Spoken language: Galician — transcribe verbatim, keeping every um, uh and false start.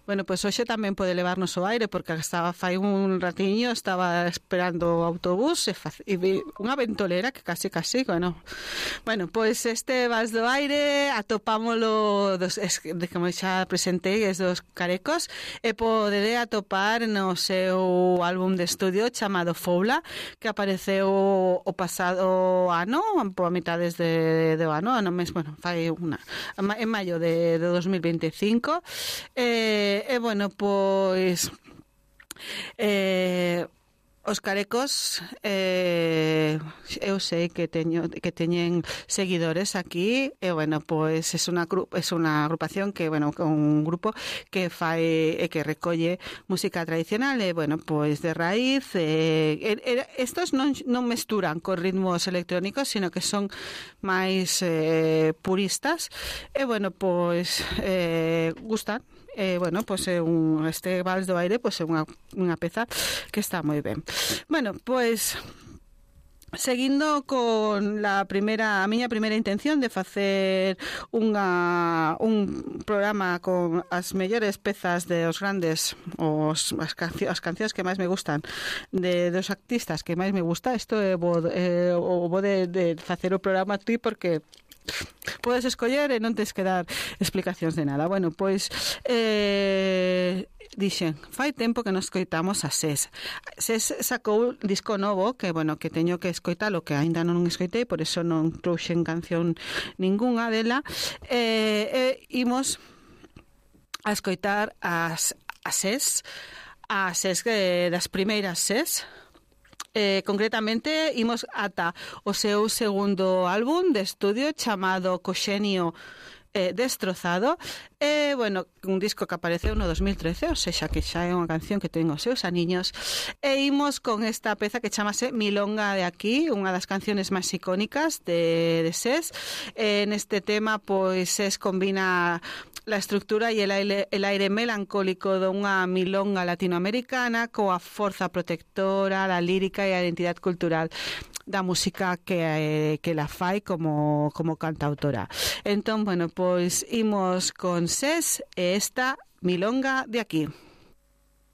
Bueno, pois pues hoxe tamén pode levarnos ao aire, porque estaba fai un ratiño, estaba esperando o autobús e, faz, e vi unha ventolera que casi casi, bueno. Bueno, pois pues este Vals do Aire atopámolo dos, es, de como xa presentei, es dos Carecos, e poderé atopar no seu álbum de estudio chamado Foula, que apareceu o pasado ano, por a mitades de, de ano, ano mes, bueno, fai unha, en maio de, de dos mil veinticinco. Eh, E, bueno, pois eh, os Carecos eh, eu sei que teño que teñen seguidores aquí e, bueno, pois é unha é unha agrupación que, bueno, un grupo que fai e que recolle música tradicional e, bueno, pois de raíz e, e, estos non, non mesturan con ritmos electrónicos, sino que son máis eh, puristas e, bueno, pois eh, gustan. Eh, bueno, pois é un este Vals do Aire, pois é unha unha peza que está moi ben. Bueno, pois seguindo con la primeira a miña primeira intención de facer unha un programa con as mellores pezas de os grandes os as, cancio, as cancións que máis me gustan de dos artistas que máis me gusta, isto é bo, eh, o bo de, de facer o programa ti porque podes escoller e non tens que dar explicacións de nada. Bueno, pois eh, dixen, fai tempo que nos escoitamos a SES. SES sacou un disco novo que, bueno, que teño que escoitalo, que aínda non escoitei, por eso non trouxen canción ningunha dela. Eh, eh, imos a escoitar as a SES, a SES eh, das primeiras SES. Eh, concretamente imos ata o seu segundo álbum de estudio chamado Coxenio eh, Destrozado e, bueno, un disco que apareceu no dos mil trece, ou seja, que xa é unha canción que ten os seus aniños e imos con esta peza que chamase Milonga de aquí, unha das canciones máis icónicas de, de SES. Eh, neste tema, pois, SES combina la estructura e el aire, el aire melancólico dunha milonga latinoamericana coa forza protectora, da lírica e a identidade cultural da música que, que la fai como, como cantautora. Entón, bueno, pois imos con SES e esta Milonga de aquí.